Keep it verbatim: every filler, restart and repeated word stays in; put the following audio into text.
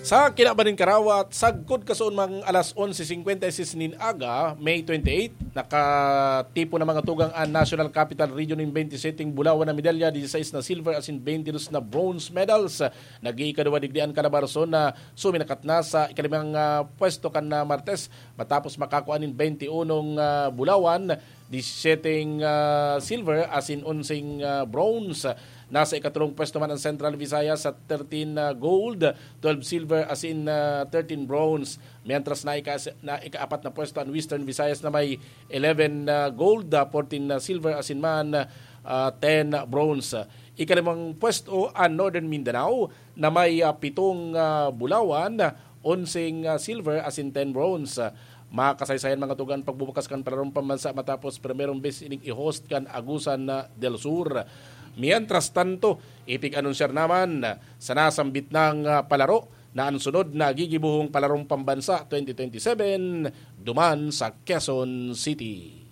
Sa kinaban nin karawat, sagkod kasoon mang alas onse cincuenta y seis nin aga, May twenty-eight, nakatipon na mga tugang an National Capital Region nin twenty-seven bulawan na medalya, dieciséis na silver asin twenty-two na bronze medals. Nag-iikaduwa digdi an Calabarzon na suminakat na sa ikalimang, ah, pwesto kan, ah, Martes matapos makakua nin twenty-unong, ah, bulawan, diecisiete, ah, silver asin onseng, ah, bronze. Nasa ikatulong pwesto man ang Central Visayas sa thirteen, ah, gold, twelve silver asin, ah, thirteen bronze. Mientras na ika-, na ikaapat na pwesto ang Western Visayas na may eleven, ah, gold, ah, fourteen na silver asin man, ah, ten bronze. Ikalimang pwesto ang Northern Mindanao na may, ah, pitong, ah, bulawan, onseng, ah, silver asin ten bronze. Makasaysayan mga tugang pagbubukas kan palarong pambansa matapos primerong bes ining i-host kan Agusan na del Sur. Mientras tanto, ipig-anunsiyar naman sa nasambit nang, ah, palaro na ang sunod na gigibohong palarong pambansa twenty twenty-seven duman sa Quezon City.